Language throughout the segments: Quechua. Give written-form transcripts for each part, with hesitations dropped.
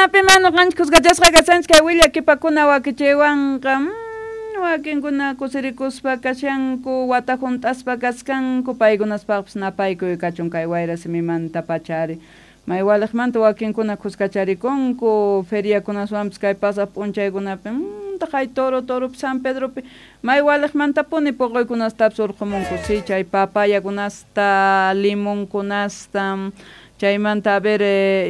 Imaynapimá ñuqanchik kuskachasqa kashanchik kay willakipakuna wakichiywanqa? Wakinkuna kusirikuspa kashanku, wata hunt'aspa kaskanku, paykunaspaqpis napaykuy kachun kay wayra simimanta pacha ari. May waliqmanta wakinkuna kuskacharikunku, feriakunaswanpis kay pasaq p'unchaykunapi, taqay Toro Toropi, San Pedropi, may waliqmantapuni puquykunastapis urqumunku, si chay papayakunasta, limonkunasta, chaymanta a ver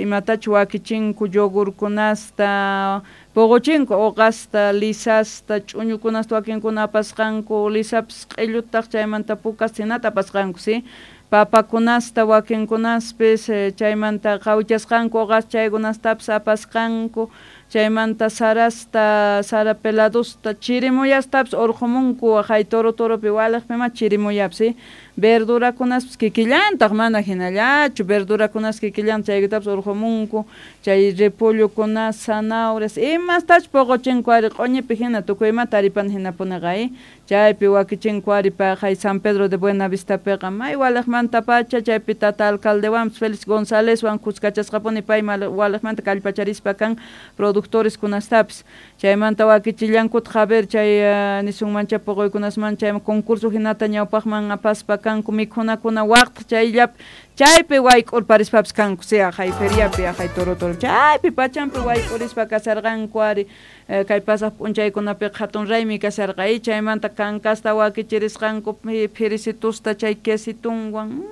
imatachu wakichinku yogurkunasta, puquchinku uqasta, lisasta, ch'uñukunasta wakinkuna apasqanku, lisapis q'illutaq chaymanta pukas hinata apasqanku, si papakunasta wakinkunaspis, chaymanta qhawichasqanku uqas chaykunastapis apasqanku, chaymanta sarasta, sara peladusta, chirimuyastapis urqumunku waqay Toro Toropi waliqpimá chirimuyapis, si verdurakunaspis kikillantaq mana hinallachu, verdurakunas kikillantaq chaykutapis urqumunku, chay repollokuna, zanahorias, imastachus puquchinku ari q'uñipi hina tukuy imata taripana hinapuniqa, chaypi wakichinku ari paqay San Pedro de Buenavistapiqa may waliqmanta pacha chaypi tata alcaldewanpis Félix Gonzalezwan kuskachasqapuni pay waliqmanta kallpacharispa kan productores kunastapis, chaymanta wakichillankutaq a ver chay nisunmancha puquykunasman chay concurso hinata ñawpaqman apaspa kanku mikhunakuna waqtaq chayllapi chaypi wayk'urparispapis kanku, si aqhay feriapi aqhay Toro Toro chaypi pachampi wayk'urispa kasharqanku ari kay pasaq p'unchaykunapiqa hatun raymi kasharqa, chaymanta kankasta wakichirisqanku phirisitusta chay quesitunwan,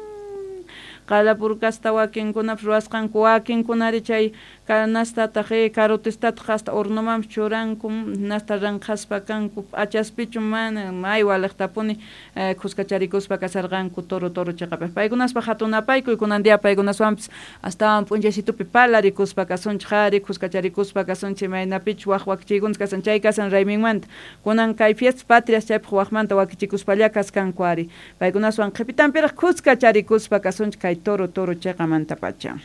qalapurkasta wakinkunapis ruwasqanku, wakinkunari chay kanastataq carotistataq hasta hornomanpis churanku, hinasta ranqhaspa kanku, p'achaspichu mana may waliqtapuni kuskacharikuspa kasharqanku Toro Toro chiqapaq, paykunaspaq hatun napaykuy kunan día paykunaswanpis astawan p'unchaysitupi palarikuspa kasunchik ari, kuskacharikuspa kasunchik imaynapichus waq wakichiykunas kasan chay kasan rayminmanta, kunan kay fiestas patrias chaypaq waqmanta wakichikuspalla kaskanku ari, paykunaswan qhipitanpiraq kuskacharikuspa kasunchik kay Toro Toro chiqamanta pacha.